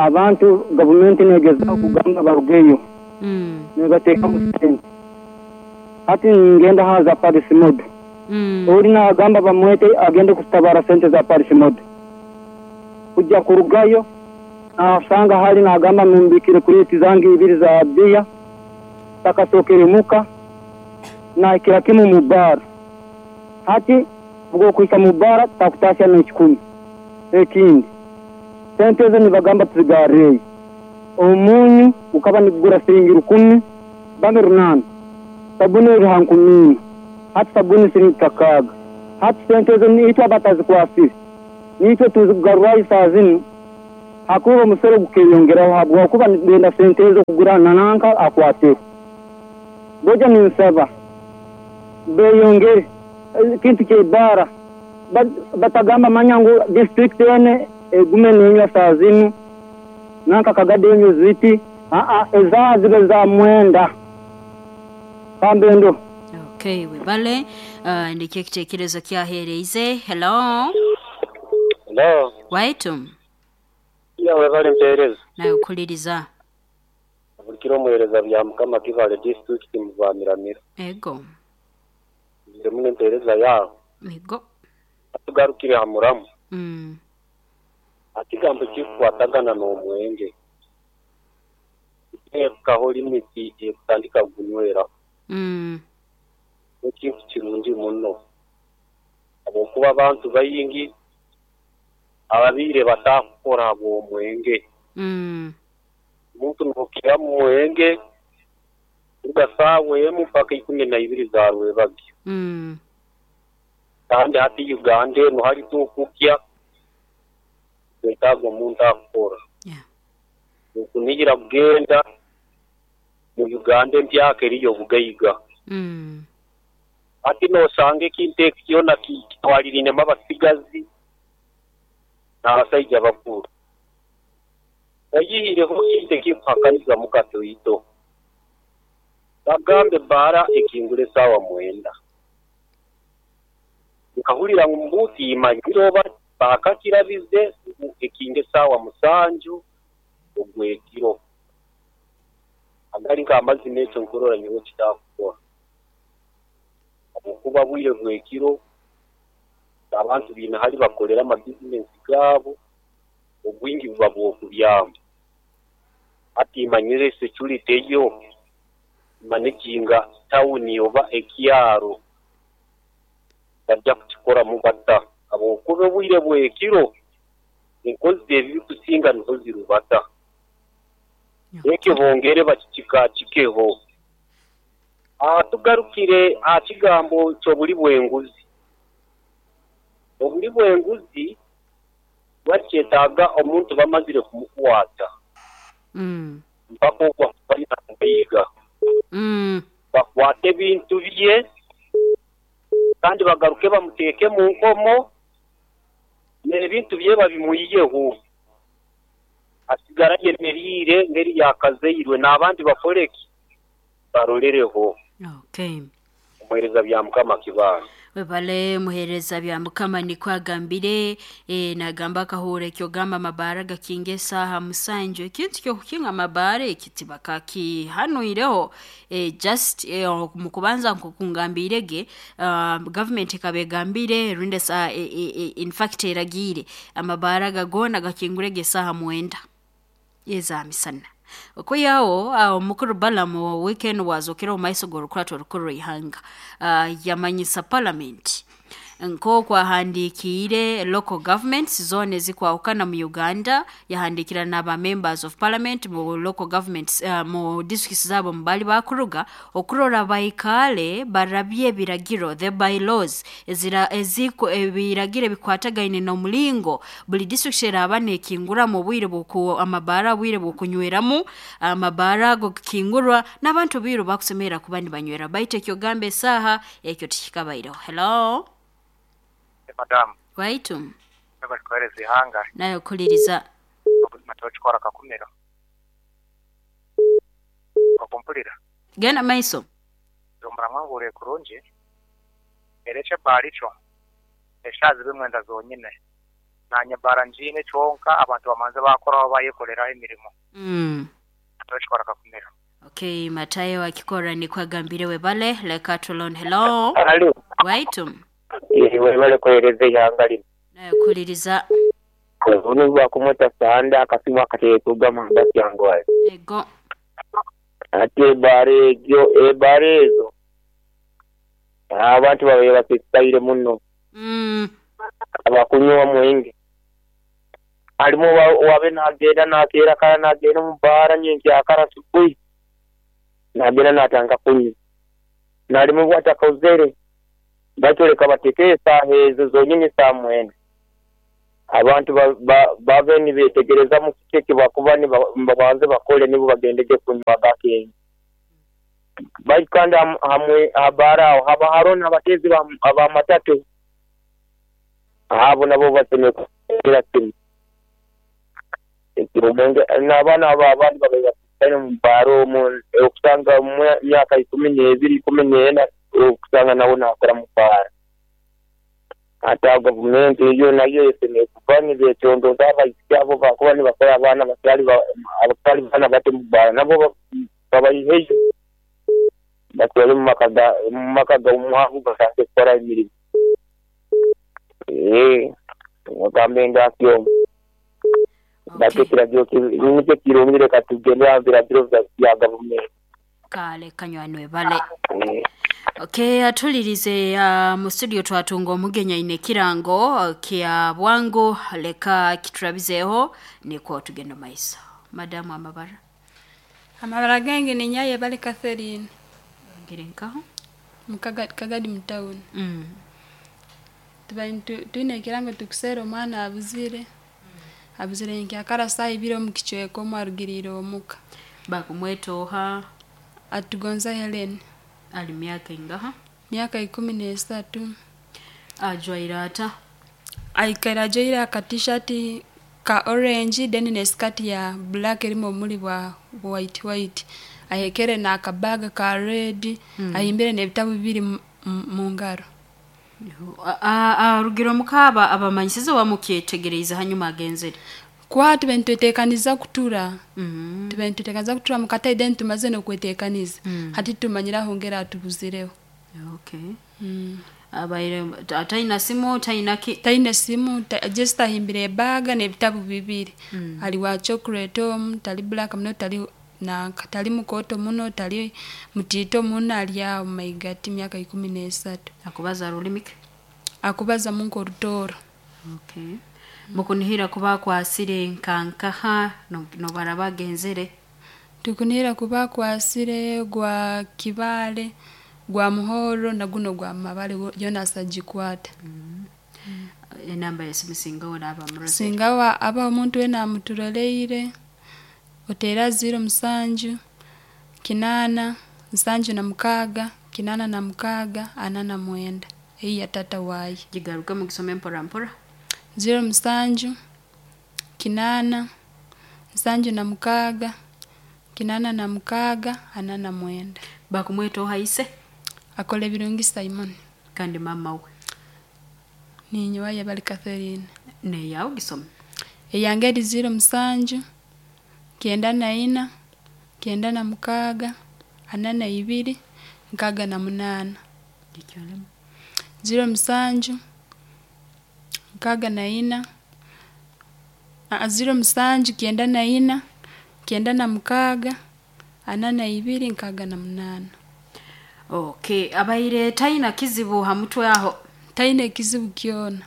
Abantu gavumenti negezaho kugamba barugeyo nebateekamu sente. Hati ningenda aha za Paris Model. Ori nagamba bamwete agende kutabara sente za Paris Model. Kujya kurugayo nasanga hali nagamba mumbikire kureti zange ibiri za biya takasokere muka nahikira kimu mu bara. Hati obwokuhika mu bara takutasya n'ekikumi. Ekindi sente ezo nibagamba tuzigarreyo. Omunyu gukaba nigugura siringi 1000 bambe 800. Sabuni eri ha 4000. Hati sabuni siringi 6. Hati sente ezo nitwe abatazikwasire. Nitwe tuzigarrayo saaha zinu hakuba omusoro gukeyongeraho habwokuba nibenda sente ezo kugura nananka akwateho. Ngoja ninsaba beyongere ekintu ky'ebbaara batagamba manya ngu disitulikiti enu egume nenywa saaha zinu nanka Kagadi enywe ziti, ezaaha zibe za 9 kambe ndoho. Okay, webale. Nikyo ekitekerezo kyahereize. Hello. Hello. Waitu. Ya webale mpereza. Nawe okuliriza. Bulikiro omuhereza bya Mukama Kibale district muvamiramira. Ego. Nze muno empereza yawe. Ego. Atugarukire ha muramu. Ekigambo ekikukwatagana n'omwenge. Teekaho limiti ekutandika kugunyweraho. Ekintu kirungi muno. Habwokuba abantu baingi ababiire batakukora habw'omwenge. Omuntu nookira mu mwenge kuruga saawa emu mpaka 12 za rwebagyo. Kandi hati Uganda enu hali tukukya twetaaga omuntu akukora. Okunihira kugenda mu Uganda empyaka eriyo obugaiga. Hati noosanga ekintu eki kyona kitwalirinemu abasigazi n'abasaija abakuru. Oyihireho ekintu ekikuhakaniza mukatoito. Bagambe ebbaara ekingura esaawa 9. Nkahurira ngu mbuuti imanyire oba baakakirabize ngu ekinga esaawa 7 ogw'ekiro. Agali nk'amazima ekyo nkurora nyowe kitakukora. Habwokuba bwire bw'ekiro abantu baine hali bakolera amabizinesi gaabo obwingi buba bw'okubyama. Hati imanyire security eyo managinga tawuni oba ekyaro bajja kukikoramu bata habwokuba obwire bw'ekiro enkozi ebikusinga niho zirubata. Ekyo bongere bakikikakikeho. Tugarukire aha kigambo ky'obuli bw'enguzi. Obuli bw'enguzi bwakyetaaga omuntu bamazire kumukwata. Mpaka obu akuba Bakwate ebintu bye kandi bagaruke bamuteeke mu nkomo n'ebintu bye babimwiyeho. Asigara ayemeriire ngeri yakazairwe n'abandi bakoreki barolereho. Okay. Omuhereza bya Mukama Kibaale. Webale muhereza bya Mukama nikwo agambire nagamba akahuura ekyogamba amabaara gakinga esaaha 7 ekintu ky'okukinga amabaara eki tibakakihanuireho just mukubanza nk'okungambiire ge gavumenti ekaba egambire rundi in fact eragiire amabaara aga goona gakingurege esaaha 9 eza misana. Okwihaho omukuru Balaam weekend wazookera omu maiso g'orukurato orukuru rw'eihanga yamanyisa parliament nk'oku ahandiikiire local governments zoona ezikwahukana mu Uganda yahandiikira n'aba members of parliament mu local governments mu districts zaabo mubali bakuruga okurora baikaale barabye ebiragiro the bylaws ebiragiro ebikwatagaine n'omulingo buli district eraaba neekinguramu obwire amabaara obwire bw'okunyweramu amabaara ago gakingurwa n'abantu bairu bakusemerera kuba nibanywera baitu ekyogamba esaaha ekyo tikikabaireho. Hello. Madamu. Waitu. Bari ihanga. Nawe okuliriza. Matokikora kakumiro. Okumpulira. Genda maiso. Zombura mwangure kurungi. Erekye baricho. Eshazi bimwenda zonyine. Nanye bara njiine kyonka abantu bamanze bakoraho bayekoleraho emirimo. Tokikora kakumira. Okay, Matayo akikora nikwagambire webale leka tulon hello. Alo. Waitum. Webale kuhereza ihanga lino. Nayo kuliriza. Bunu bwakumweta sanda akasimu akateekugama gatyangwaye. Ego. Ate ebbaara egyo ebbaara ezo abantu babaire basesekaire muno. Abakunywa omwenge harimu wabe nagenda nakeera kara nagenda omu bbaara nyenkyakara asubuhi nagenda natandika kunywa narimu bwatakozere batoleka bateke esaaha ezo zonyini saa 9 abantu babe nibetegereza mu kiki bakuba nibabanze bakole nibo bagendege kunywa gakenge bali kandi hamwe abara aho haba haro n'abatezi ba matatu abo nabo basemye kugira kimwe ekiromenge n'abaana abo abandi babaire mu baro okusanga mu myaka 12 14 okusanga nabo nakora mu bara ata gavumenti eyo nayo esemye kuba nibekyondoza abaisiki abo bakuba nibakora abaana abatali baana bato mu bara nabo babayiheyo batwale mu maka ga omuhangu basange kukora emirimu. Ogambe ndakyo bate kiragiro nikyo kirungi reka tugende aha biragiro bya gavumenti. Kale kanywanwe bale. Okay, atulirize mu studio twatunga omugenya ine kirango kya bwangu leka kiturabizeho niko tugenda maiso. Madamu amabara. Amabara gange ni Nyaye bale Catherine. Ngirenkaho. Mukagadi mtown. Tuine kirango tukusera omwana abuzire. Abuzire nkyakara saa 2 omu kichweko omwarugirire omuka. Bakumwetoha Atugonza Helen. Ali miaka ingaha? Miaka 13. Ajwaira ata? Aikaira ajoire aka t-shirt ka orange then ne skirt ya black erimo omuli bwa white. Ahekere na akabaga ka red. Ahimbire n'ebitabu bibiri mu ngaro. Arugiro mukaba abamanyisize wamukyetegereza hanyuma agenzere. Kwa tubentwetekaniza kutura. Tubentwetekaniza kutura mukata then tumaze n'okwetekaniza. Hati tumanyira hongera atubuzireho. Okay. Abaire ataina simu taina ki taina simu just ahimbire baga n'ebitabu bibiri. Ali wa chocolate tali black muno tali na tali mukoto muno tali mutito muno ali awo maigati miaka 13. Akubaza rulimike? Akubaza munko rutoro. Okay. Mukunihira kuba kwasire nkankaha no barabagenzere. Tukunihira kuba kwasire gwa kibale gwa muhoro na guno gwa mabale yona asajikwata. Enamba ya simu singawa aba murose. Singawa aba omuntu wena amuturoleire. Otera 07 8 76 86 49. Eyi ya tata wayi. Jigaruka mugisome mpora mpora. 07 8 76 86 49. Bakumweto haise? Akole birungi Simon. Kandi mama we. Ninyo waye bali Catherine. Ne yawo gisome. Eyangeri 07 94 96 42 68. Gikyolemu. 07 64 07 94 96 42 68. Okay, abaire taina kizibu hamutwe aho. Taina kizibu kyona.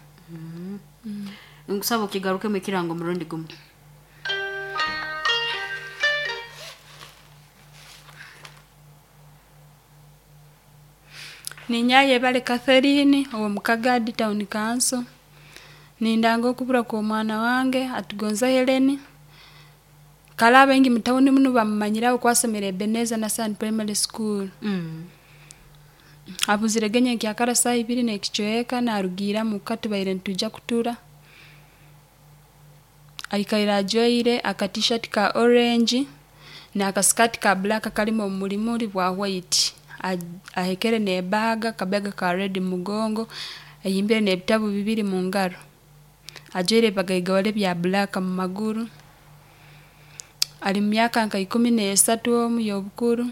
Nkusaba kigaruke mu kirango murundi gumu. Ninyaye bale Catherine owo Mukagadi Town Council. Nindanga okubura kwa omwana wange Atugonza Helen. Kala bengi mutawuni muno bamumanyiraho kwasomera Ebenezer na Sun Primary School. Abuzire genye kyakara saa 2 n'ekichweka narugira muka tubaire ntuja kutura. Aikaira ajoire aka t-shirt ka orange na aka skirt ka black kalimo omulimuli bwa white. Ahekere n'ebaga kabaga ka red mugongo ayimbire n'ebitabu bibiri mu ngaro. Ajwaire ebibagaigawale bya black mu maguru. Ali mu myaka nka 13 omu y'obukuru.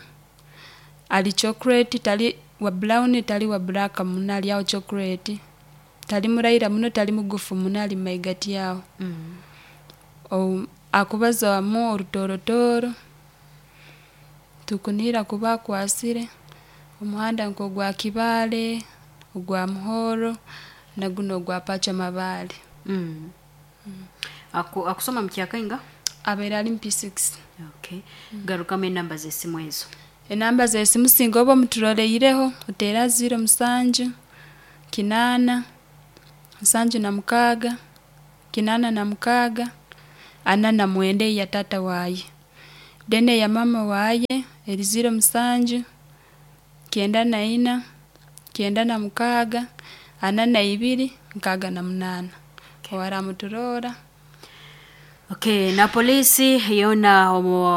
Ali chocolate tali wa brown tali wa black muno ali aho chocolate. Tali muraira muno tali mugufu muno ali mumaigati aho. Akubazaamu orutoorotooro, tukunihira kuba akwasire omuhanda nk'ogwa Kibaale, ogwa Muhoro, nagunu ogwa Pachwa Mabaale. Akusoma mukyakainga? Abaire ali mu P6. Okay. Garukamu enamba z'esimu ezo. Enamba z'esimu singa oba omuturoleireho oteera 07 8 76 86 49 eya taata waaye. Then eya maama waaye eri 07 94 96 42 68 owaramuturoora. Okay, na polisi yona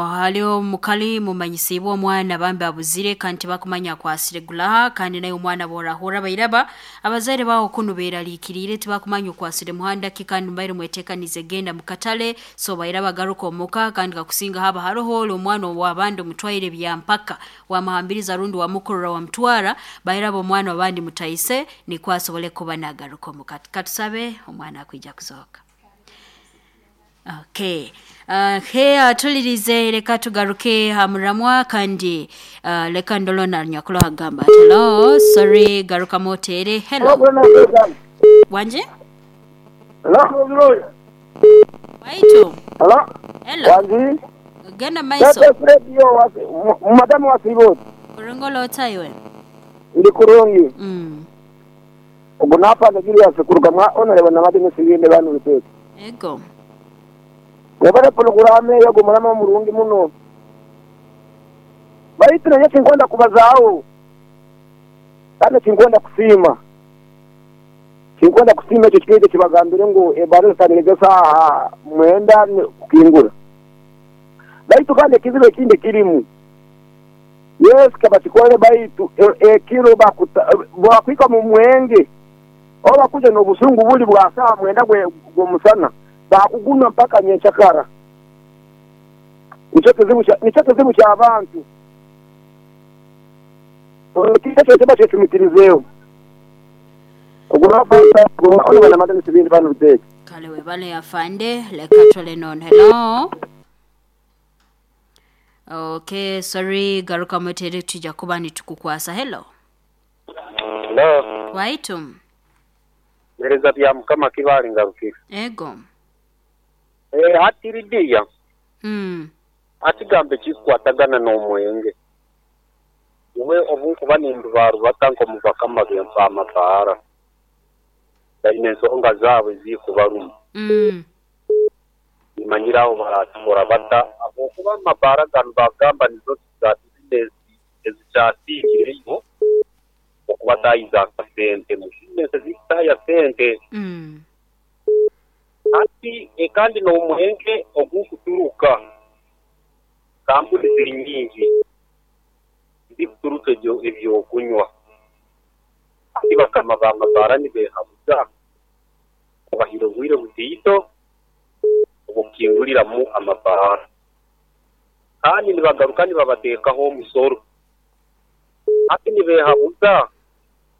haliho omukali mumanyisibwe omwana bambi abuzire kandi tibakumanya akwasire gulaha kandi naye omwana borahura bairaba abazaire bawo kunu beraliikiriire tibakumanya okwasire muhanda ki kandi mbaire mwetekanize genda mukatale so bairaba garuka omuka kandi kakusinga haba haroho oli omwana owabandi omutwaire byampaka wamuhambiriza rundi wamukurura wamutwara bairaba omwana wabandi mutaise nikwo asobole kuba nagaruka omuka. Katusabe omwana akwija kuzooka. Okay. He atulirize leka tugaruke hamuramwa kandi leka ndolona nyakulo agamba ati hello sorry garuka motere hello wanje Hello. Waitu Hello. Hello. Wanji. Genda maiso. Radio madamu wa Sibot. Kurungolo otaiwe. Ndi kurungi. Ogo napa ndagiriya sekuruga mwa honorable na madini sibinde banu bitete. Ego. Wabara programu yo gumurama murungi muno. Baitu naye tinkwenda kubazaawo. Kandi tinkwenda kusiima. Tinkwenda kusiima ekyo kikeje kibagambire ngu ebara zitanirize saaha 9 kukingura. Baitu kandi ekizibu ekindi kirimu. Yes kabatikole baitu ekiro bakwika mu mwenge. Oba kuja n'obusungu buli bwa saa 9 gwomusana. Bakuguma mpaka nyenchakara. Nicho kizibu cha abantu. Kicho kiba chetumitirizeyo. Ogurafa ona na madani sibindi banu biteke. Kale webale afande leka tole non hello. Okay, sorry garuka mwetere tujja kuba nitukukwasa hello. Hello. Waitum. Mereza bya mukama kibali ngarukire. Ego. Hatiridiya. Atigambe kikwatagana n'omwenge. Iwe obunkuba nindubaruba nko mubakama bempa amabara. Baine ensonga zaabwe zikubaruma. Nimanyiraho baratukora bata abokuba amabara gano bagamba nizo za bizinesi ezikyasingireyo okuba tayiza sente mu bizinesi zikutaya sente. Ati kandi n'omwenge ogukuturuka kampuni ziri nyingi zikuturuka ebyokunywa. Ati bakama b'amabara nibehabuza obahira obwire butiito obukinguliramu amabara kandi nibagaruka nibabateekaho omusoro. Ati nibehabuza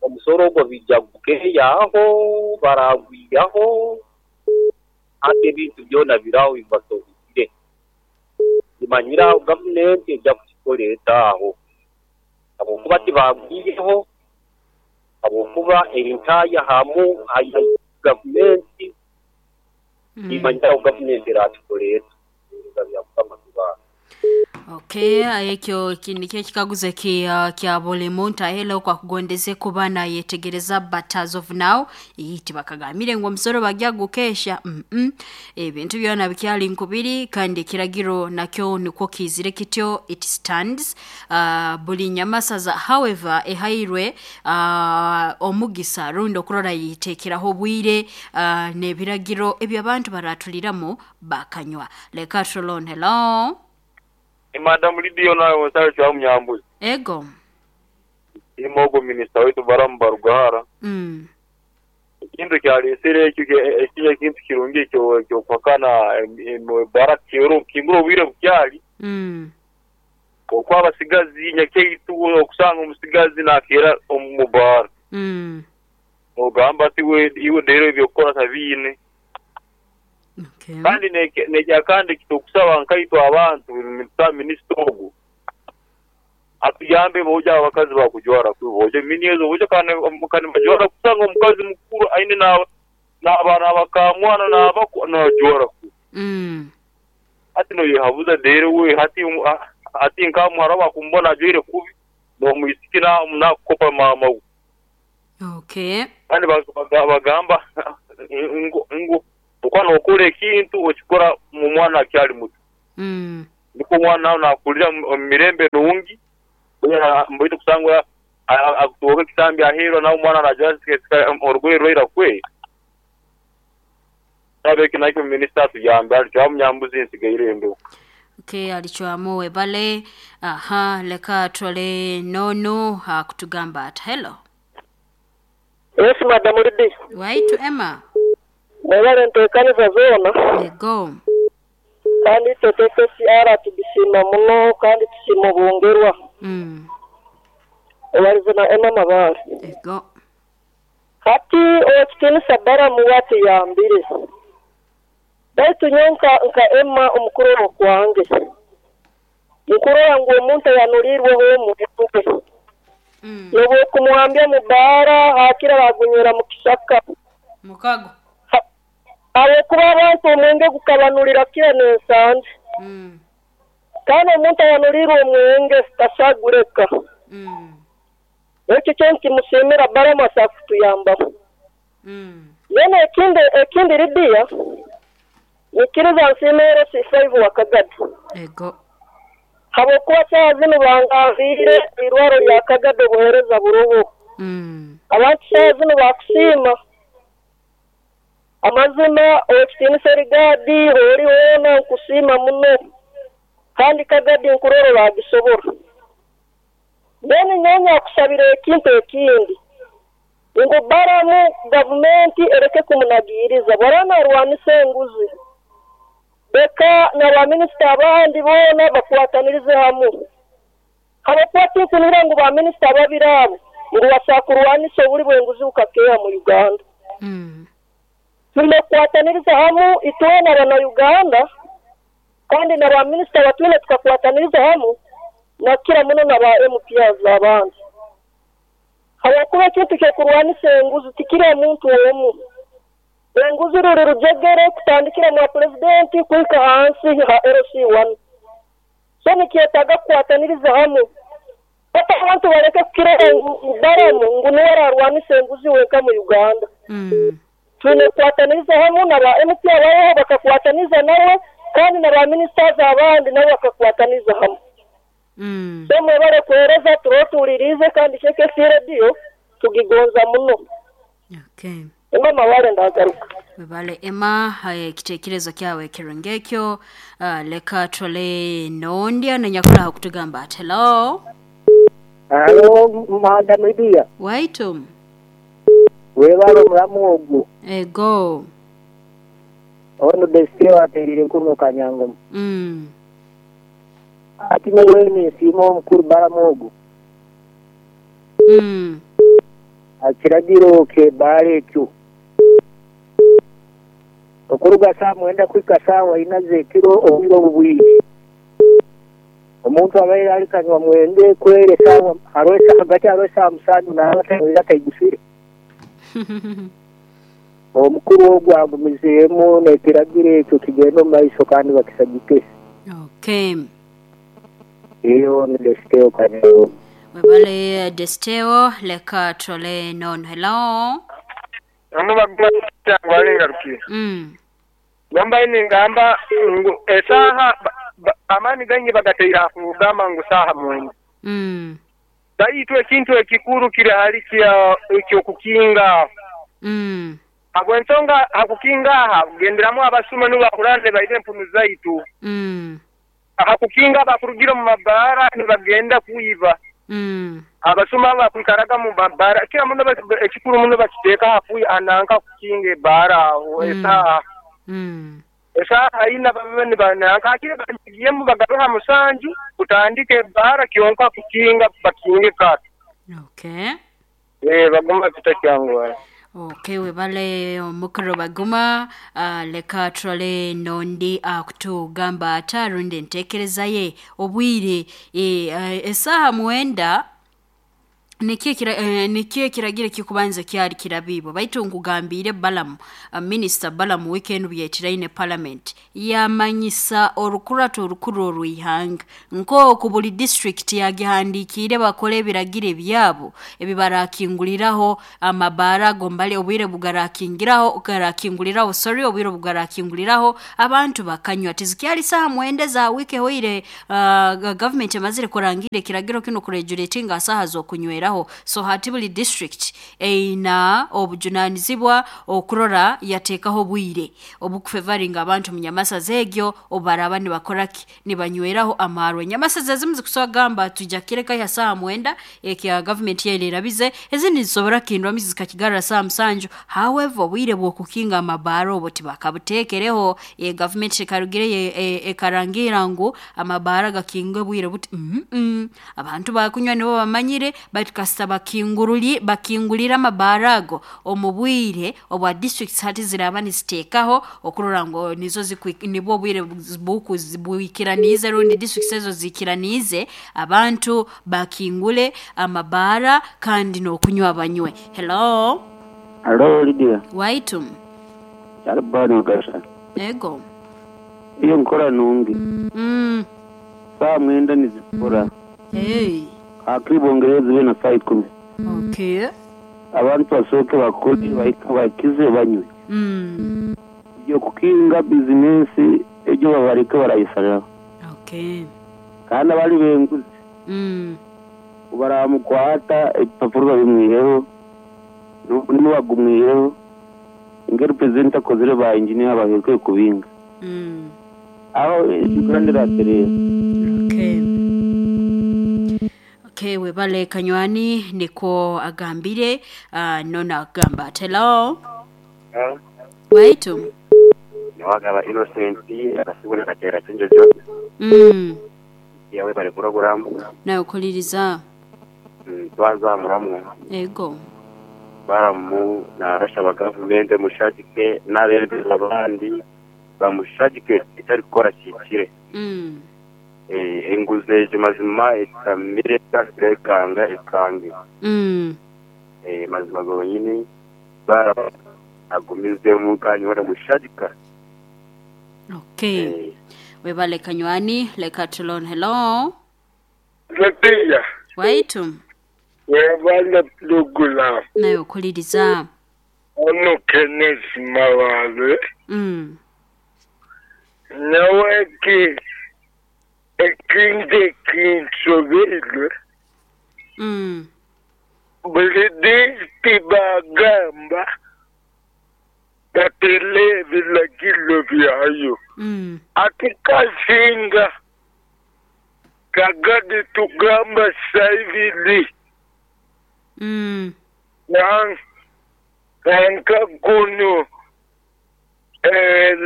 omusoro ogwo bijja gukeeyaho baragwiyaho ate ebintu byona biraho bibasobire. Nimanyiraho gavumenti ejja kukikoleeta aho habwokuba tibagwiyeho habwokuba erintaya hamu aya gavumenti. Nimanyiraho gavumenti erakikoleeta. Okay, ekyo nikyo ekikaguzo kya buli muntu ahela kwa kugondeze kuba nayetegereza but as of now tibakagamire ngu omusoro bagya gukesha. Ebintu byona bikyali nkubiri kandi ekiragiro nakyo nikwo kizire kityo it stands. Buli nyamasaza however ehairwe omugisa rundi okurora yitekeraho obwire n'ebiragiro eby'abantu baratuliramu bakanywa. Leka Trolon, hello. Madam Lidio nawe mwasayo cha mnyambuzi. Ego. Imogo minister wetu Baramu Barugahara. Ekintu kyaleesere ekyo ekiri ekintu kirungi eky'okuhakana ebbaara kukingura obwire bukyali. Okuba abasigazi nyakyaitu okusanga omusigazi nakeera omu bbaara. Nogamba ati iwe deero eby'okukora tabiine. Kandi n'ekyakandi ekiturukusaba nkaitwe abantu nitusaba minisita ogu atuyambe boojo abo abakazi bakujwara kubi boojo mini ezo boojo kandi nibajwara kusanga omukazi mukuru aine n'abakamwana n'abako najwara kubi. Hati noyehabuza deero we hati nka muhara we akumubona ajwaire kubi n'omwisiki nakukopa maama we. Kandi bagamba ngu okuba nokora ekintu okikora omwana akyali muto. Nikwo omwana nawe nakurira omu mirembe nungi baitu kusanga akutunga ekisambi aheeru nawe omwana najwara orugoye rwaira kwe. Eki nakyo minisita atuyambe alicwamu Nyambuzi nsigaire ndo. Okay, alicwamu webale. Aha, leka twale nono akutugamba ati hello. Yes, Madam Lydia. Waitu Emma. Mwebale nteekaniza zoona. Ego. Kandi itwe KKCR tugisiima muno kandi tusiima obwongerwa. Obalize na Emma Mabale. Ego. Hati owekitiinisa Balamu watuyambire. Baitu nyowe nka Emma omukurora kwange. Nkurora ngu omuntu ayanulirweho omwenge. N'obwokumuhambya mu bbaara hakira bagunywera mu kisaka. Mukago. Habwokuba abantu omwenge gukabanulira kira n'ensanje. Kandi omuntu ayanulirwe omwenge tasagureka. Ekyo kyo nkimusiimira Balamu asobola kutuyambaho. Then ekindi Lydia, nikiriza nsiime LC5 wa Kagadi. Ego. Habwokuba saaha zinu bangambiire irwaro lya Kagadi obuheereza buroho. Abantu saaha zinu bakusiima. Amazima owekitiinisa Erigadi ori hoona nkusiima muno. Kandi Kagadi nkurora bagisobora. Then nyowe nyakusabira ekintu ekindi. Ngu Balamu gavumenti ereke kumunagiiriza bw'araaba narwanisa enguzi. Leka na baminisita abandi boona bakwatanirize hamu. Habwokuba tinkunihira ngu baminisita babiri abo ngu basobola kurwanisa obuli bw'enguzi bukakeeha mu Uganda. Twine kukwataniriza hamu itwena abana-Uganda kandi na baminisita batwine tukakwataniriza hamu nakira muno na ba MPs abandi. Habwokuba ekintu ky'okurwanisa enguzi tikiri omuntu omu. Enguzi ruri rujegere kutandikira mwa pulezidenti kuhika hansi ha LC1. So nikyetaaga kukwataniriza hamu. Hati abantu baleke kukirora ngu Balamu ngu niwe ararwanisa enguzi wenka mu Uganda. Twine kukwataniriza hamu na ba MP abaroho bakakwataniza nawe kandi na ba ministers abandi nabo bakakwataniza hamu. So mwebale kuheereza turotuuliriize kandi KKC Radio tugigonza muno. Okay. Emma Mabale ndagaruka. Webale Emma, ekiteekerezo kyawe kirungi ekyo. Leka twale nondya nanyakulaho kutugamba ati hello. Hello, Madam Lydia. Waitu. Webale omulamu ogwo. Ego. Ono Desiteo ateerire nkuno Kanyangomo. Ati nyowe ninsiima omukuru Balamu ogwo. Ekiragiro ky'ebbaara ekyo. Okuruga saa 9 kuhika saawa 4 z'ekiro obwire obu bwingi. Omuntu abaire alikanywa mwenge kwere saawa hagati hariho esaawa 7 naaba ataigusire. Omukuru ogwo agumizeemu n'ekiragiro ekyo kigenda omu maiso kandi bakisagike. Okay. Iyo ni Desiteo Kanyangomo. Webale Desiteo, leka twale nono. Hello. Gamba ningamba ngu esaaha amaani gaingi bagateire aha kugamba ngu saaha 9. Baitu ekintu ekikuru kiri hali ekyokukinga. Habw'ensonga hakukinga aha kugenderamu abasuma nibo bakurande baine empunu zaitu. Hakukinga bakurugira omu mabaara nibagenda kwiba. Abasuma abakwikaraga mu mabbaara kira muno ekikuru muno bakiteeka hakuhi ananka kukinga ebbaara aho esaaha esaaha ina babe nibananka hakire bagiyemu bagabe ha musanju kutandika ebbaara kyonka kukinga bakinge kara. Okay. Baguma kitakyanguhara. Okay, webale omukuru Baguma. Leka turole nondi akutugamba ata rundi entekereza ye obwire esaaha 9 nikyo ekiragiro ekikubanza kyali kirabiibwe. Baitu nkugambire Balamu, Minister Balamu weekend byetiraine parliament yamanyisa orukurato orukuru orw'ihanga nk'oku buli district yagihandikiire bakora ebiragiro ebyabo ebibarakinguliraho amabaara ago mbali obwire bugarakingiraho garakinguliraho sorry obwire bugarakinguliraho abantu bakanywa. Tizikyali saaha 9 za wiiki ehoire government emazire kurangira ekiragiro kinu kuregulatinga saaha z'okunyweraho. So hati buli district eina obujunanizibwa okurora yateekaho obwire obukufevaringa abantu mu nyamasaza egyo obaraba nibakoraki nibanyweraho amarwa. Enyamasaza ezimu zikusobola kugamba tujja kireka ya saaha 9 ekya government yaire erabize, ezindi zisobora kukindwamu zikakigarra saaha 7. However, obwire bw'okukinga amabaara obwo tibakabuteekereho. Government ekarugire ekarangira ngu amabaara gakingwe obwire buti. Abantu bakunywa nibo bamanyire, baitu kasita bakingulira amabaara ago omu bwire obwa districts hati ziraba niziteekaho okurora ngu nizo nibwo obwire bwikiraniize rundi districts ezo ziikiraniize abantu bakingule amabaara kandi n'okunywa banywe. Hello. Hello Lydia. Waitu. Kyalibani Mugasha. Ego. Iyo nkora nungi. Saa 9 nizikora. Hey. Akibongereza zibe na saa 10. Okay. Abantu basooke bakole bakize banywe. Ibyo kukinga bizinesi ejo babareke barayisarira. Okay. Kandi abali benguzi. Baramukwata ebipapuro babimwiheho n'ubagumwiheho ingeri president akozire ba engineer baherwe kubinga. Aho Uganda iraterera. Okay. Okay, webale Kanywani niko agambire nona agamba. Hello. Waitu. Niwagaba Innocent akasibona katera chenjo. Yawe bale program. Na ukuliriza. Twanza muramu. Ego. Baramu na rasha government mushajike n'abebezi abandi bamushajike itari gukora kikire. Enguze mazima etamire ekanga ekange. Mazima gonyini bara agumizemu kanyora mushajika. Okay. Webale Kanywani leka tulon. Hello. Letia. Waitu. Webale plugula. Nayo kuliriza. Ono Kenneth Mawale. Naweki ekindi kinsobirwe. Buli disiti bagamba batele ebiragiro byayo. Ati kasinga kagadi tugamba saibili. Nanka kuno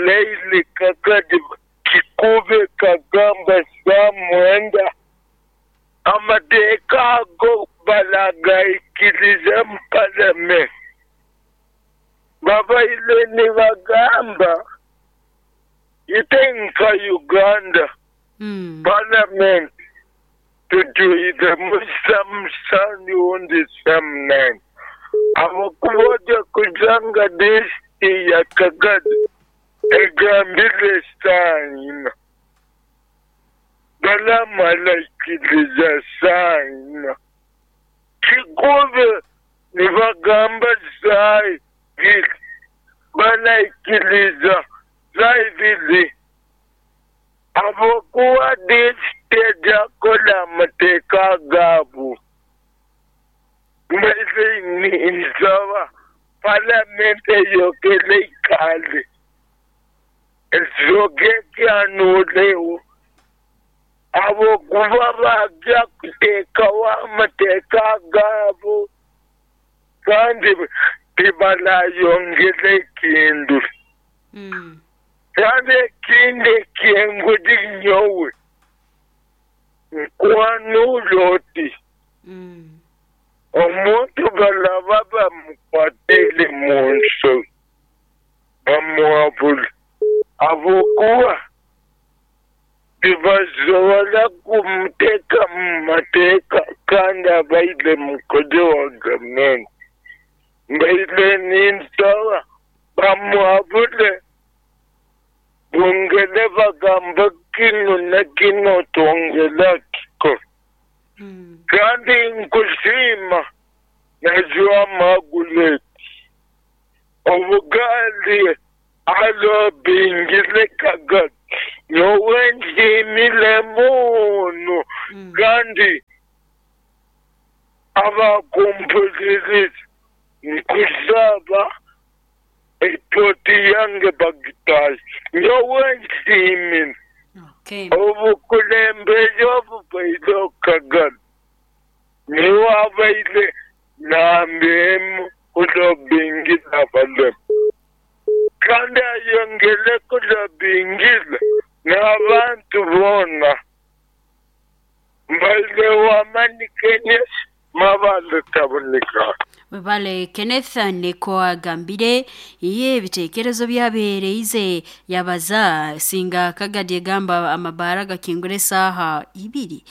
leili kakadi kikube kagamba saa 9 amateeka ago balagaikiriza mu parliament. Babaile nibagamba itenka Uganda parliament tujuize musamusani undi 9 abakuboja kujanga disti ya Kagadi egambire saa 4 balamalaikiriza saa 4 kikube nibagamba saa 2 balaikiriza saa 2 abokuwa disiti ejakola amateeka gaabo. Mbese nsaba parliament eyokele ikale ezoke kyanulewo Habwokuba bajja kuteekawo amateeka gaabo kandi tibarayongera ekintu. Kandi ekindi eky'enguzi nyowe nkwanura oti omuntu baraba bamukwatiire mu nsobi bamuhabura habwokuba tibasobora kumuteeka mu mateeka kandi abaire mukozi wa gavumenti. Mbaire ninsaba bamuhabure bongere bagambe kinu na kinu twongere kikora. Kandi nkusiima najwa Margaret obugaali alobingire Kagadi nyowe nsiimire muno kandi abakumpuliriza nkusaba eploti yange bagitaahe nyowe nsiimire obukulembeze obubaire Kagadi niwe abaire namba emu kulobingira abalema kandi ayongere kulobingira n'abantu boona. Mbaire w'amaani Kenneth Mabale Taboneka. Webale Kenneth niko agambire iye ebitekerezo byabeereize yabaza singa Kagadi egamba amabaara gakingura esaaha ibiri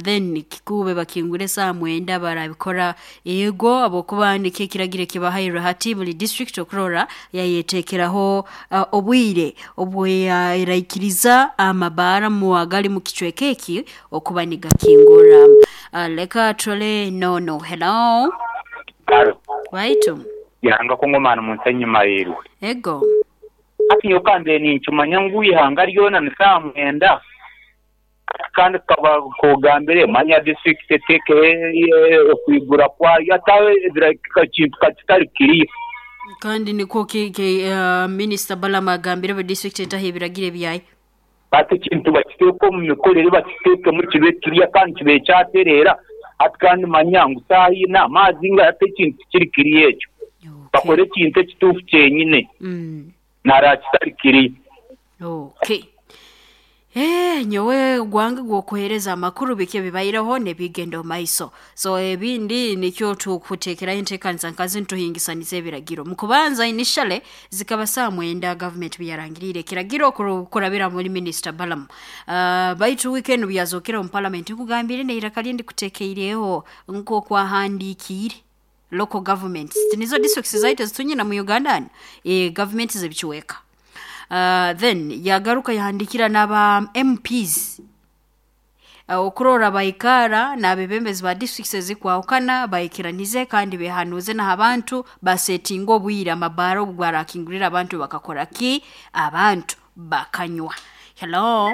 then kikube bakingura esaaha 9 barabikora ego habwokuba nikyo ekiragiro ekibahairwe hati buri district okurora yayeteekeraho obwire obweraikiriza amabaara agali mu kicweka eki okuba nigakingura. Leka turole nono. Hello. Waitu. Ihanga Kongomani mu nsi enyuma yeirwe. Ego. Hati nyowe ka mbaire ninkimanya ngu eihanga ryona ni saaha mwenda. Hati kandi kukaba kogambire manya disiturikiti eteekeho okwigura kwayo hati aho ekintu ka kitari kiriya. Kandi nikwo Minisita Balaam agambire buri disiturikiti etaho ebiragiro ebyayo. Hati ekintu bakiteeke omu mikorere bakiteekemu kibe kiriya kandi kibe kyatereera. Hati kandi manya ngu saaha ina amaazi nga hati ekintu tikiri kiriya ekyo. Bakore ekintu ekituufu kyenyine nara kitari kiriya. Okay. Nyowe gwange gw'okuheereza amakuru biki ebibaireho n'ebigenda omu maiso. So ebindi nikyo tukuteekeraho enteekaniza nkazi nituhingisaniza ebiragiro. Mu kubanza initially zikaba saaha 9 gavumenti biyarangiriire ekiragiro kurabira muri Minisita Balaam. Baitu wiiki enu byazookere omu parliament nkugambire n'eiraka rye ndikuteekeireho nk'okwahandiikiire local governments. Tinizo districts zaitu ezitunyina mu Uganda hanu? Gavumenti z'ebicweka. Then yagaruka yahandiikira n'aba MPs okurora baikara n'abeebembezi ba districts ezikwahukana baikiranize kandi behanuuze n'abantu basetinga obwire amabaara obu gwarakingurira abantu bakakora ki? Abantu bakanywa. Hello.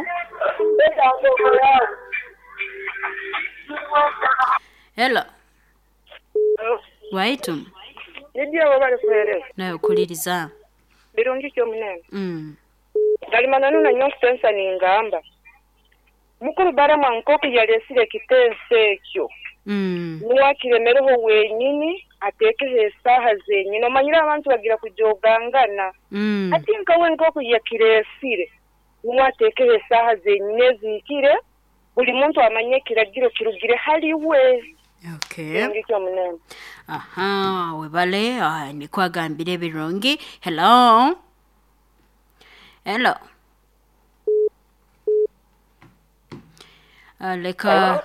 Hello. Waitu. Lydia webale kuheereza. Nawe okuliriza. Birungi ki omunene? Gali mananu na nyowe nkutensa ningamba, Mukulu Balaam nk'oku yaleesire ekitenso ekyo, nuwe akiremereho wenyini ateekeho esaaha zenyini. Omanyire abantu bagira kujogangana. Hati nka we nk'oku yakireesire, nuwe ateekeho esaaha zenyini ezihikire, buli muntu amanye ekiragiro kirugire hali we. Okay. Birungi ki omunene? Aha, webale nikwo agambire ebirungi. Hello. Hello. Leka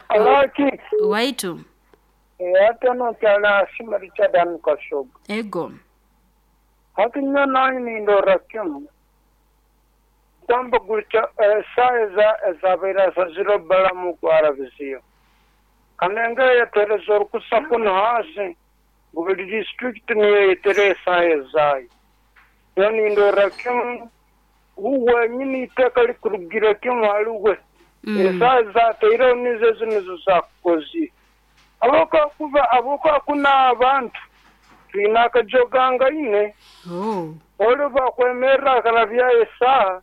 waitu. Hati ono nkyali Richard Kashoga. Ego. Hati nyo nange nindora kimu. Kwamba gutya esaaha ezabaire asazire Balaam kwarabiziyo. Kanenga yatereza orukusa kunu hansi ngu buri disiturikiti niyo eyetere esaaha ezaayo. Nyowe nindora kimu wenyini iteeka rikurugira kimu hali we. Esaaha ezataireho nizo ezi nizo zakukozire. Habwokuba kunu abantu twine akajogangaine. Ori bakwemerera akarabyayo esaaha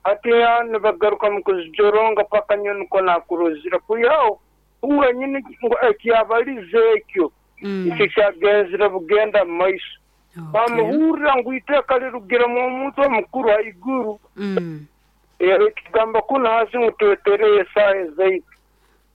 Hati nibagaruka mu kuzijoronga paka nyowe nukwo nakurozire kwihaho wenyini ngu ekyabalize ekyo nikyo kyagenzire bugenda mu maiso. Bamuhurra ngu iteeka lirugiremu omuntu omukuru haiguru. Ekigamba kunu hansi ngu twetereyo esaaha ezaitu.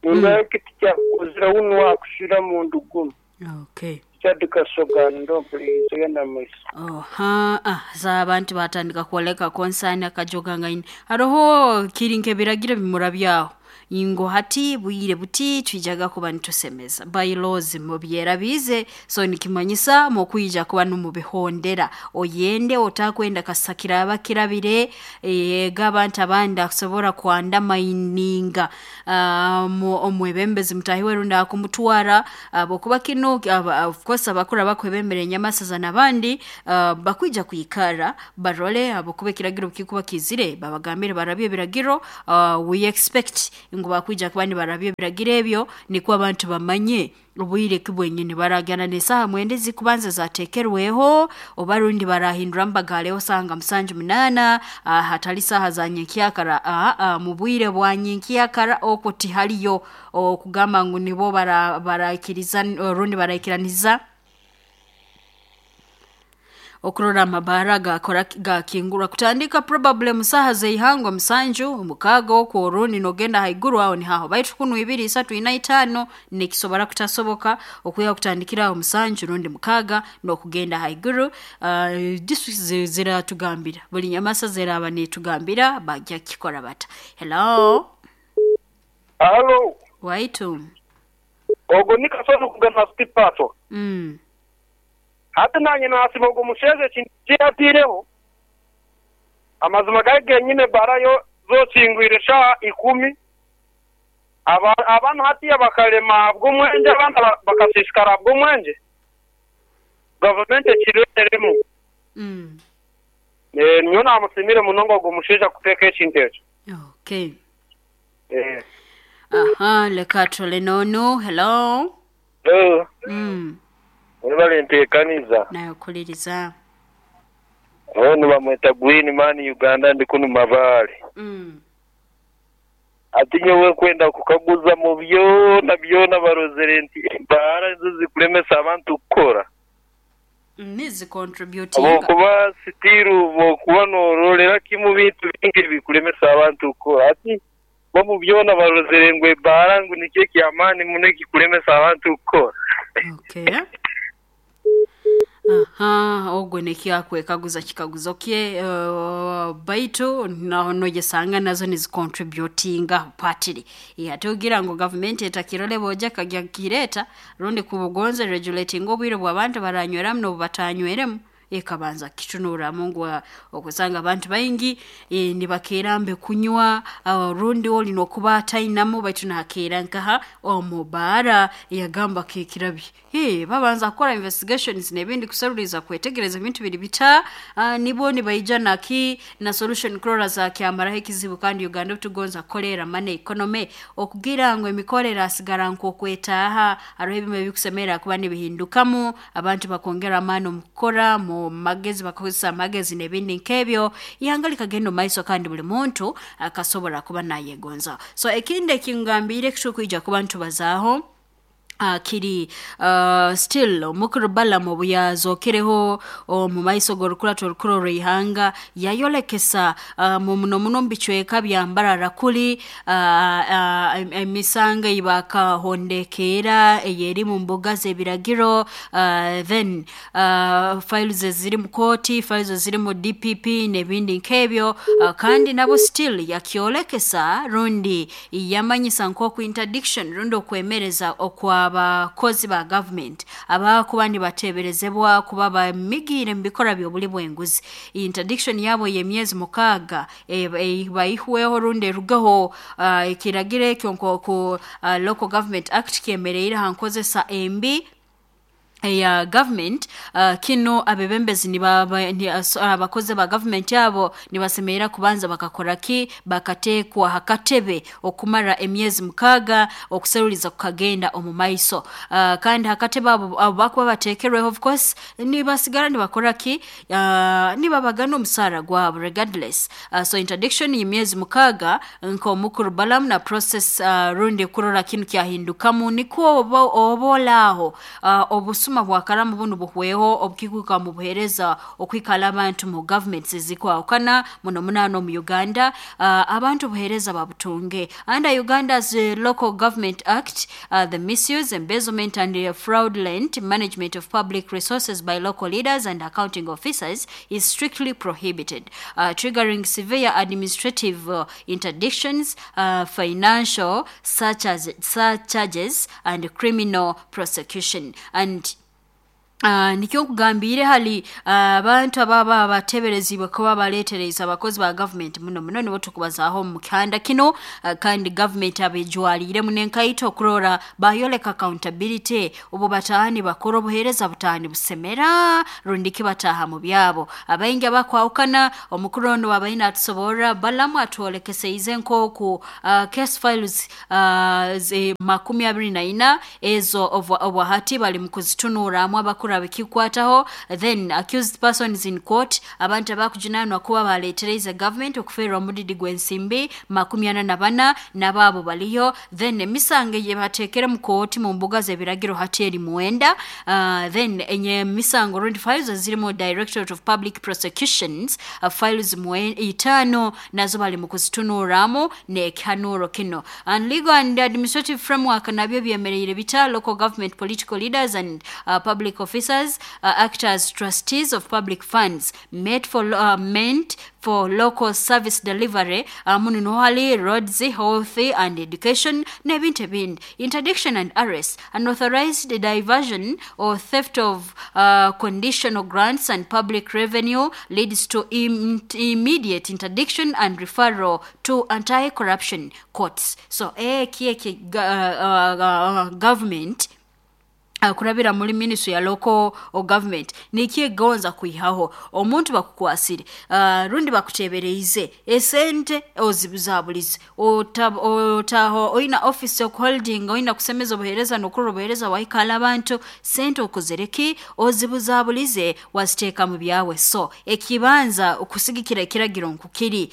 Nindaha eki tikyakukozire wunu akushira mundu gunu. Okay. Chad Kasoga ndo mpuliriza genda mu maiso. Oha, ah, za abantu batandika kwoleka concern akajogangaine. Haroho kiri nk'ebiragiro bimurabyaho ngu hati bwire buti twijaga kuba nitusemeza bylaws mubyerabize, so nikimanyisa mukwija kuba numubihondera oyende otakwenda kasa kiraba kirabire ega abantu abandi akusobora kwandamaininga omwebembezi mutahi we rundi akumutwara abokuba kino of course abakuru abakwebembera enyamasaza n'abandi bakwija kwikara barole abokuba ekiragiro kikuba kizire babagambire barabye ebiragiro. We expect ngu bakwija kuba nibarabya ebiragiro ebyo nikwo abantu bamanye obwire ki bwenyini baragana n'esaaha 9 zikubanza zateekerweho oba rundi barahinduramu bagaleho saaha nga 7 8 hatali saaha za nyenkyakara. Mu bwire bwa nyenkyakara okwo tihaliyo okugamba ngu nibo baraikiriza rundi baraikiraniza okurora amabaara gakora gakingurwa kutandika probably mu saaha z'eihangwe 7 6 okwo orundi nogenda haiguru aho nihaho baitu kunu 2 3 4 5 nikisobora kutasoboka okwiha kutandikira aho 7 rundi 6 n'okugenda haiguru. Districts ziratugambira buli nyamasa ziraba nitugambira bajja kukikora bata. Hello. Halo. Waitu. Ogwo ni Kasozi kugana City. Hati nanye nasima ogwo musheeze ekintu kiyatiireho amazima gari genyine barayo zokingwire shaaha 10 abaana hatiya bakarema bw'omwenge abaana bakasiisikara bw'omwenge gavumenti ekireeteremu. Nyowe namusiimire munonga ogwo mushaija kuteeka ekintu ekyo. Okay. Aha, leka tule nono. Hello. Hello. Webale nteekaniza. Nayokuliriza. Ono bamweta Green Man Uganda ndi kunu Mabaale. Ati nyowe kwenda kukaguza mu byona byona barozere nti embaara nizo zikulemesa abantu kukora. Nizi contributinga. Okuba sitiru okuba norolera kimu bintu bingi ebikulemesa abantu kukora. Ati bo mu byona barozere ngu ebbaara ngu nikyo ekyamaani muno ekikulemesa abantu kukora. Okay. Aha, ogwo nekyakwekaguza kikaguzo kye baitu naho nojesanga nazo nizicontributinga partly. Ate ogira ngu gavumenti etakirole boja kagya kireta rundi kubugonze regulating obwire bw'abantu baranyweramu n'obubatanyweremu ekabanza kitunuramu ngu okusanga abantu baingi nibakeerambe kunywa rundi oli nokuba atainamu baitu nakeera nkaha omubaara yagamba kekirabye. Babanza kukora investigations n'ebindi kusaruliza kwetegereza ebintu biri bita nibo nibaija naki na solution kurora za kyamaraho ekizibu. Kandi Uganda tugonza kukolera money economy okugira ngu emikorera asigara nk'okwetaaha hariho ebimwe ebikusemera kuba nibihindukamu abantu bakongera amaani omu kukora mu magezi bakozesa amagezi n'ebindi nk'ebyo ihanga likagenda omu maiso kandi buli muntu akasobora kuba nayegonza. So ekindi ekingambiire kitukwija kuba ntubazaaho kiri still omukuru Balaam obu yazokereho omu maiso g'orukurato orukuru orw'eihanga yayolekesa muno muno omu bicweka bya Mbarara kuli emisango ei bakahondekeera eyeri mu mbuga z'ebiragiro then files eziri mu kooti, files eziri mu DPP n'ebindi nk'ebyo kandi nabo still yakyolekesa rundi yamanyisa nk'oku interdiction rundi okwemereza okwa abakozi ba government abakuba nibateeberezebwa kuba bamigiire mu bikora by'obuli bw'enguzi. Interdiction yabo y'emyezi 6 baihweho rundi erugeho ekiragiro ekyo nk'oku Local Government Act kyemereire ha nkozesa embi Eya government kinu abebembezi abakozi ba government abo nibasemerera kubanza bakakora ki bakateekwa hakatebe okumara emyezi 6 okuseruliza kukagenda omu maiso. Kandi hakatebe abo bakuba bateekerweho, of course nibasigara nibakora ki, nibabagana omusaara gwabo regardless. So interdiction y'emyezi 6 nk'omukuru Balaam na process, rundi kurora kinu kyahindukamu, nikwo obolaaho obusuma bwakaramu bunu buhweho obukikwika mu buheereza okwikala abantu mu governments ezikwahukana muno munaano omu Uganda, abantu obuheereza babutunge. Under Uganda's Local Government Act, the misuse, embezzlement and fraudulent management of public resources by local leaders and accounting officers is strictly prohibited, triggering severe administrative interdictions, financial such as surcharges and criminal prosecution. And nikyo nkugambiire hali abantu ababa bateeberezibwe kuba baleetereza abakozi ba government, muno muno nibo tukubazaaho omu kihanda kinu. Kandi government abejwaliiremu n'enkaito okurora bayoleka accountability obu bataaha nibakora obuheereza butaaha nibusemera rundi ki bataaha mu byabo abaingi abakwahukana. Omukuru onu wabaine atusoborra, Balamu atwolekeseize nk'oku case files 24 ezo obwahati bali mu kuzitunuramu abakuru abikikwataho. Then accused persons in court, abantu abakujunanwa kuba baleetereize government okuferwa omudidi gw'ensimbi 44, n'abaabo baliyo. Then emisango eyebateekere mu kooti mu mbuga z'ebiragiro hati eri 9. Then enye emisango rundi files ezirimu Directorate of Public Prosecutions, files 5 nazo bali mu kuzitunuramu n'ekihanuro kino. And legal and administrative framework nabyo byemereire bita? Local government political leaders and public officers act as trustees of public funds made for meant for local service delivery, muno niho hali roads, health and education n'ebintu ebindi. Interdiction and arrest: unauthorized diversion or theft of conditional grants and public revenue leads to immediate interdiction and referral to anti-corruption courts. So eki eki government kurabira muri ministry ya local government nikyegonza kwihaho omuntu bakukwasire, rundi bakutebereize esente ozibuzabulize, otaho oina office okuholding, oina kusemeza obuheereza n'okurora obuheereza wahikala abantu, sente okozere ki, ozibuzabulize waziteeka mu byawe. So ekibanza okusigikira ekiragiro nkukiri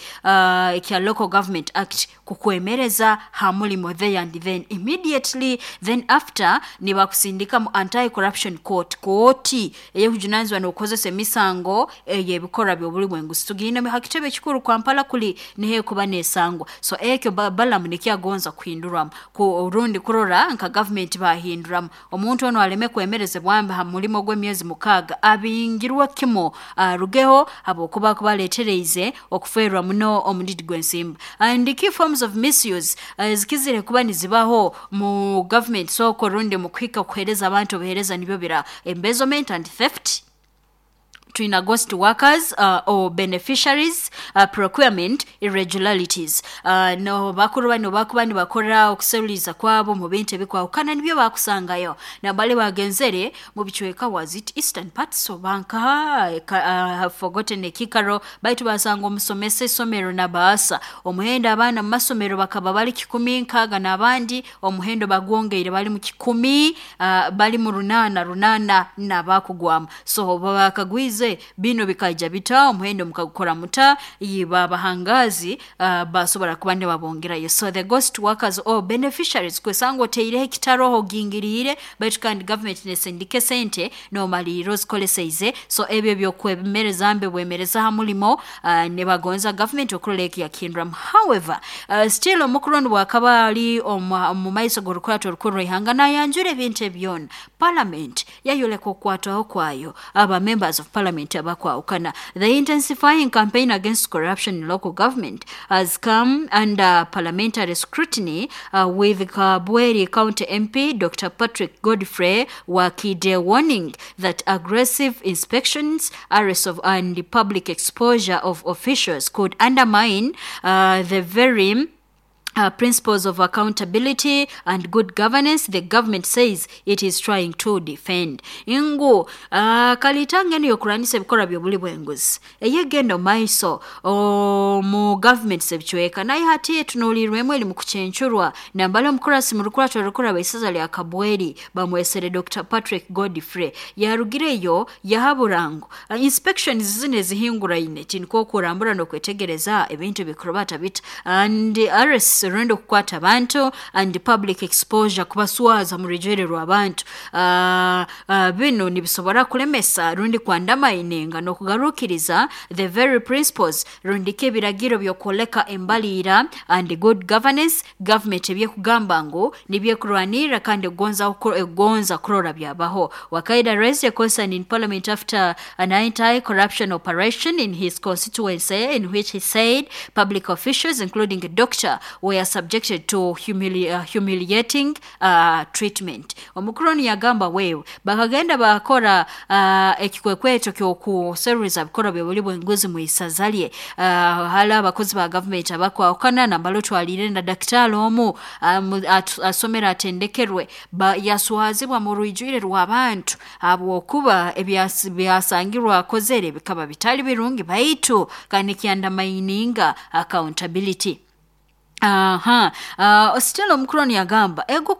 ekya Local Government Act kukwemereza ha mulimo there and then, immediately. Then after nibakusindika mu anti corruption court, kooti eyekujunanizibwa n'okukozesa emisango ey'ebikorwa by'obuli bw'enguzi. Tugenda ha kitebe ekikuru Kampala kuli niho ekuba nesangwa. So ekyo Balamu nikyagonza kuhinduramu ku rundi kurora nka government bahinduramu omuntu ono aleme kwemerezebwa ha mulimo gw'emyezi 6, abingirwe kimo arugeho habwokuba kubaleetereize okuferwa muno omudidi gw'ensimbi. And key forms of misuse zikizire kuba nizibaho mu government soko rundi mu kuhika kuheereza abantu obuheereza nibyo bira: embezzlement and theft, twina ghost workers or beneficiaries, procurement irregularities. No bakuru bano bakuba nibakora okuseruliza kwabo mu bintu ebikwahukana nibyo bakusangayo nabali bagenzere mu bicweka, was it eastern parts obanka, have forgotten ekikaro, baitu basanga omusomesa isomero nabaasa omuhendo abaana mu masomero bakaba bali 160 n'abandi omuhendo bagwongeire bali mu 100, bali mu 800 n'abakugwamu. So bakagwize bino bikaija bita, omuhendo mukagukora muta, babahangazi basobora kuba nibabongerayo. So the ghost workers or beneficiaries, kwesanga oteireho ekitaroho ogingiriire, baitu kandi government nesindika esente nomalirira ozikoleseize. So ebyo byokwemereza mbe bwemereza ha mulimo, nibagonza government okurora eki yakihinduramu. However, still omukuru onu bwakaba ali omu maiso g'orukurato orukuru rw'ihanga nayanjura ebintu ebyona, parliament yayoleka okukwatwaho kwayo, aba members of parliament abakwahukana. The intensifying campaign against corruption in local government has come under parliamentary scrutiny, with Kabweri County MP Dr. Patrick Godfrey Wakide warning that aggressive inspections, arrests of and public exposure of officials could undermine the very Principles of accountability and good governance the government says it is trying to defend. Ngu kalitanga eno yokuranisa ebikorwa by'obuli bw'enguzi eyegenda omu maiso mu government z'ebicweka, naye hati etunuulirwemu eri mu kucencurwa. Nambali omukurasi mu rukurato rukura isaza lya Kabweri bamwesere Dr. Patrick Godfrey yarugireyo yahabura ngu inspections zino ezihinguraine tiniko okurambura n'okwetegereza ebintu bikurubata bita and arrests, rundi okukwata abantu, and public exposure, kubaswaza mu rujwere rw'abantu, bino nibisobora kulemesa rundi kwandamaininga n'okugarukiriza the very principles, rundi ki ebiragiro by'okwoleka embaliira and good governance government ebyekugamba ngu nibyekurwanirra kandi egonza kurora byabaho. Wakaida raised a concern in parliament after an anti-corruption operation in his constituency in which he said public officials, including a doctor, were subjected to humiliating treatment. Omukuru onu yagamba wewe bakagenda bakora ekikwekweto ky'okuseruriza bikorwa by'obuli bw'enguzi mu isaza lye, hali abakozi ba gavumenti abakwahukana, nambala otwalire na dakitaali omu asomera atendekerwe, yaswazibwa mu rwijwire rw'abantu habwokuba ebyasangirwa akozere bikaba bitali birungi, baitu kandi kyandamaininga accountability. Aha, still omukuru onu yagamba ego.